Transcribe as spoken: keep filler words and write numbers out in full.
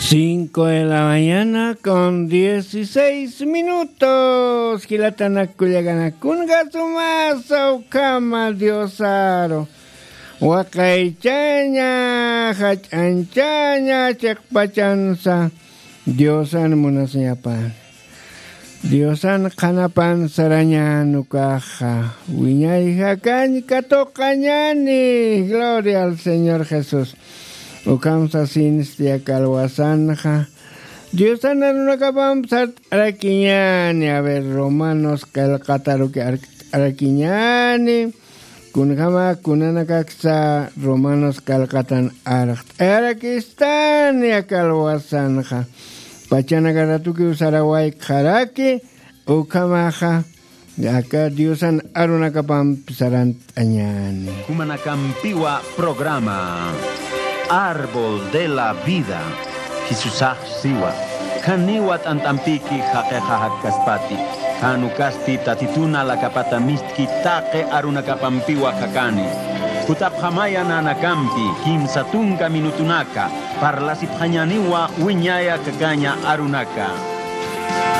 Cinco de la mañana con dieciséis minutos. Jilatanakullaganakun gasumasa ukama Diosaru. Waqaychaña, jach'anchaña, chiqpachansa. Diosan munasiñapan. Diosan qhanapan sarañan ukaxa. Wiñay jakañ katuqañani. Gloria al Señor Jesús. Ukham sasinsti aka alwasanxa. Diosan arunakapamp sart'arakiñani. A ver, Romanos qillqataruki arkt'arakiñani. Kunjama kunanakaksa Romanos qillqatan arkt'ayarakistani aka alwasanxa. Pachanaka ratukiw sarawayxaraki ukhamaxa. Aka Diosan arunakapamp sarant'añani. Jumanakampiwa programa Árbol de la Vida. Jisusax siwa. Janiwa t'ant'ampiki jaqixa jakkaspati. Jan ukasti Tatitun alakapata mistki taqi arunakapampiwa jakani. Jutapxamaya nanakampi kimsa tunka minutunaka parlasipxañaniwa wiñaya kakaña arunaka.